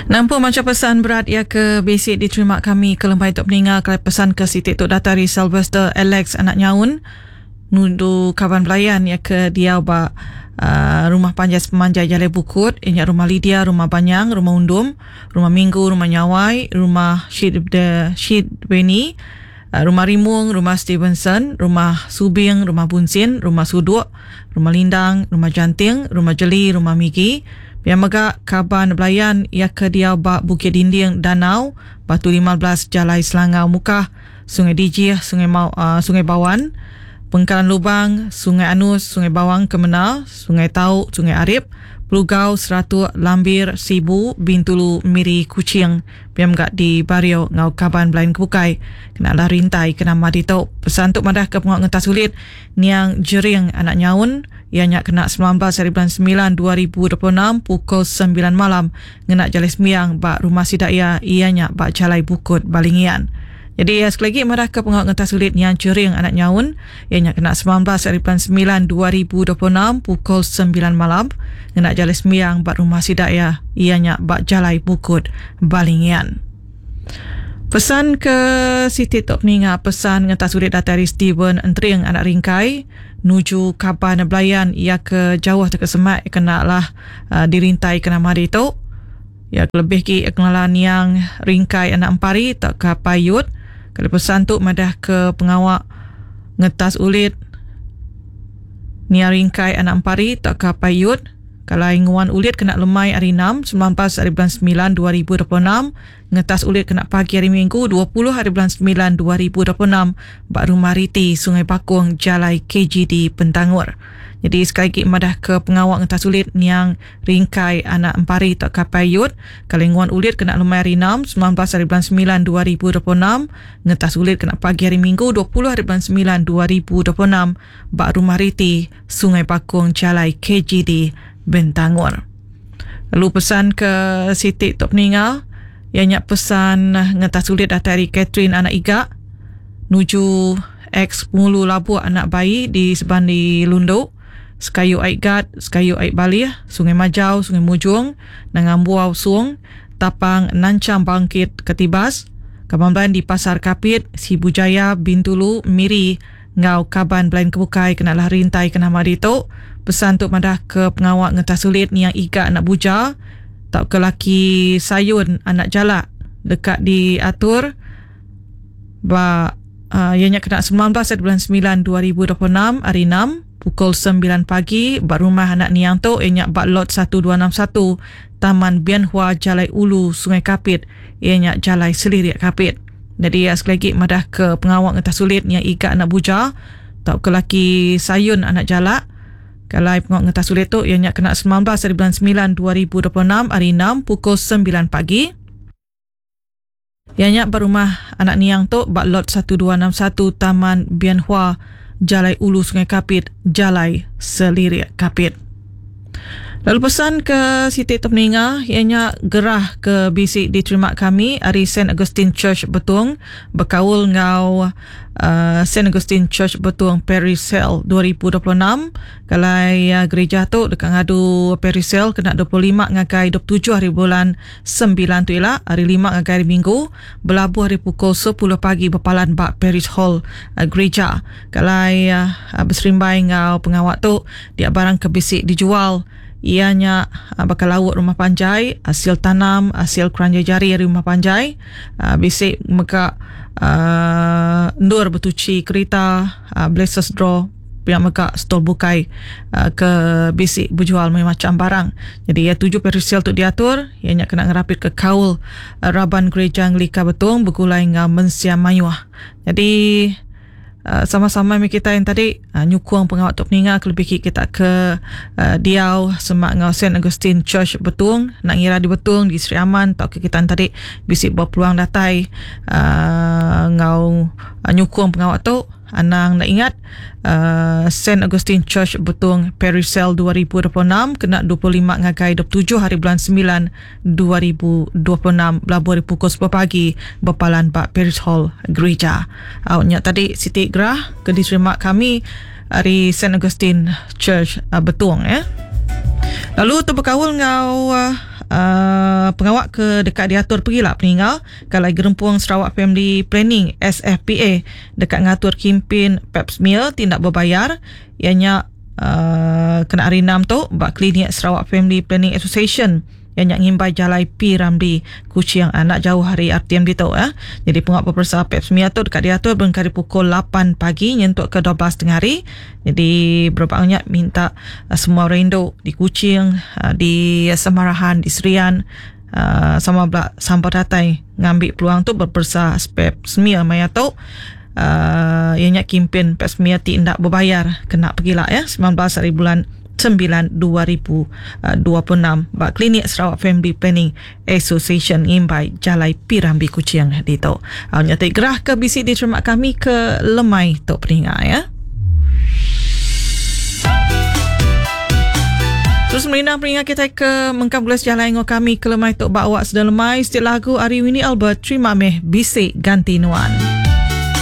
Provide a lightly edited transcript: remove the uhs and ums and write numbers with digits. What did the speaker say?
Nampung macha pesan berat iya ke bisi diterima kami ke lempai tu peninga kelai pesan ke siti tu datai ari Sylvester Alex anak Nyaun nudu kaban belayan iya ke diau ba uh, rumah panjai sepemanjai Jalai Bukut iya nya rumah Lydia, rumah Banyang, rumah Undum, rumah Minggu, rumah Nyawai, rumah Shid de Shid Beni, uh, rumah Rimung, rumah Stevenson, rumah Subing, rumah Bunsin, rumah Suduk, Rumah Lindang, Rumah Janting, Rumah Jeli, Rumah Migi. Pia mega kaban belayan iya ke diau ba Bukit Dinding Danau, Batu 15 Jalai Selangau Mukah, Sungai Dijih, Sungai Mau, uh, Sungai Bawan, Pengkalan Lubang, Sungai Anus, Sungai Bawang Kemena, Sungai Tau, Sungai Arip, Pelugau, Seratuk, Lambir, Sibu, Bintulu, Miri, Kuching. Pia mega di Bario enggau kaban belayan ke bukai kena lah rintai ke nama ditu. Pesan tu madah ke pengawa ngentas ulit Niang Jering anak Nyaun iya nya kena 19 hari bulan 9 2026 pukul 9 malam ngena jalai sembiang ba rumah sida iya iya nya ba Jalai Bukut Balingian. Jadi iya sekali lagi madah ke pengawa ngentas ulit Niang Jering anak Nyaun iya nya kena 19 hari bulan 9 2026 pukul 9 malam ngena jalai sembiang ba rumah sida iya iya nya ba Jalai Bukut Balingian. Pesan ke siti tu peninga pesan ngentas ulit datai ari Steven Entering anak Ringkai nuju kaban belayan iya ke jauh tauka semak kena lah uh, dirintai ke nama ditu. Iya ke lebih ki kelala niang Ringkai anak Empari tauka Payut. Kali pesan tu madah ke pengawa ngetas ulit niang Ringkai anak Empari tauka Payut. Kalai nguan ulit kena lemai hari 6, 19 hari bulan 9 2026, ngetas ulit kena pagi hari Minggu 20 hari bulan 9 2026 ba Rumah Riti, Sungai Bakong, Jalai KGD Pentangor. Jadi sekali lagi madah ke pengawa ngetas ulit niang Ringkai anak Empari tauka Payut, kalai nguan ulit kena lemai hari 6, 19 hari bulan 9 2026, ngetas ulit kena pagi hari Minggu 20 hari bulan 9 2026 ba Rumah Riti, Sungai Bakong Jalai KGD Bintangor. Lalu pesan ke siti tu peninga iya nya pesan ngentas ulit datai ari Catherine anak Iga nuju ex pengulu Labuk anak bayi di Sebandi Lundu, Sekayu Ai Gat, Sekayu Ai Balih, Sungai Majau, Sungai Mujong, Nanga Ambuau Sung, Tapang Nanchang Bangkit Katibas, Kaban Belayan di Pasar Kapit, Sibu Jaya, Bintulu, Miri, Enggau kaban belain ke bukai kena lah rintai ke nama ditu. Pesan tu madah ke pengawa ngetah sulit niang Iga anak Buja tauka laki Sayun anak Jalak deka diatur ba uh, iya nya kena 19 hari bulan 9 2026 hari 6 pukul 9 pagi ba rumah anak niang tu iya nya ba lot 1261 Taman Bian Hua Jalai Ulu Sungai Kapit iya nya Jalai Selirik Kapit. Nyadi iya sekali agi madah ke pengawa ngetah sulit nya iga anak buja tauka laki sayun anak jalak. Kalai pengawa ngetah sulit tu iya nya kena 19 hari bulan 9 2026 hari 6 pukul 9 pagi. Iya nya ba rumah anak niang tu ba lot 1261 Taman Bian Hua, Jalai Ulu Sungai Kapit, Jalai Selirik Kapit. Lalu pesan ke siti tu peninga iya nya gerah ke bisi diterima kami ari Saint Augustine Church Betong bekaul enggau uh, Saint Augustine Church Betong Parish Sale 2026 kalai uh, gereja tu deka ngadu Parish Sale kena 25 ngagai 27 hari bulan 9 tu ila hari 5 ngagai hari Minggu belabuh ari pukul 10 pagi bepalan ba Parish Hall uh, gereja. Kalai beserimbai enggau pengawa tu, dia barang ke bisi dijual iya nya baka lauk rumah panjai, asil tanam, asil keranjai jari ari rumah panjai, bisi mega endur betuchi kerita, blesses draw pia mega stall bukai ke bisi bejual mayuh macham barang. Jadi iya tuju perisel tu diatur iya nya kena ngerapitka kaul raban gereja Anglika Betong begulai enggau mensia mayuh. Jadi Uh, sama-sama meh kita yang tadi uh, nyukung pengawa tu peninga kelebih ki kita ke uh, diau semak enggau Saint Augustine Church Betong nak ngira di Betong di Sri Aman tauka kita yang tadi bisi berpeluang datai uh, enggau uh, nyukung pengawa tu anang nak ingat uh, Saint Augustine Church Betong Parish Sale 2026 kena 25 ngagai 27 hari bulan 9 2026 belabuh ari pukul 10 pagi bepalan ba Parish Hall Gereja. Au nya tadi siti gerah ke diterima kami ari Saint Augustine Church uh, Betong ya. Lalu tu bekaul enggau uh, Pengawa ke deka diatur pegila peninga ke alai Gerempung Sarawak Family Planning, SFPA, deka ngatur kimpin Pap Smear ti enda bebayar iya nya kena hari Enam tu ba Klinik Sarawak Family Planning Association iya nya ngimbai Jalai P. Ramlee, Kuching enda jauh ari RTM ditu. Nyadi pengawa beperesa Pap Smear tu deka diatur berengkah ari pukul lapan pagi nyentuk ke 12 tengah hari. Nyadi berebak nya minta semua orang indu di Kuching, di Samarahan, di Serian sama bela sampal datai ngambi peluang tu beperesa pap smear maya tu uhh iya nya kimpin pap smear ti enda bebayar kena pegila ya 19 hari bulan sembilan 2026 ba Klinik Sarawak Family Planning Association ngimbai Jalai Pirambi Kuching ditu. Au nya ti gerah ke bisi diterima kami ke lemai tu peninga ya. Terus merindang peninga kita ke mengkang belas jalai enggau kami ke lemai tu ba awak sedang lemai setiap lagu ari Winnie Albert terima meh bisi ganti nuan.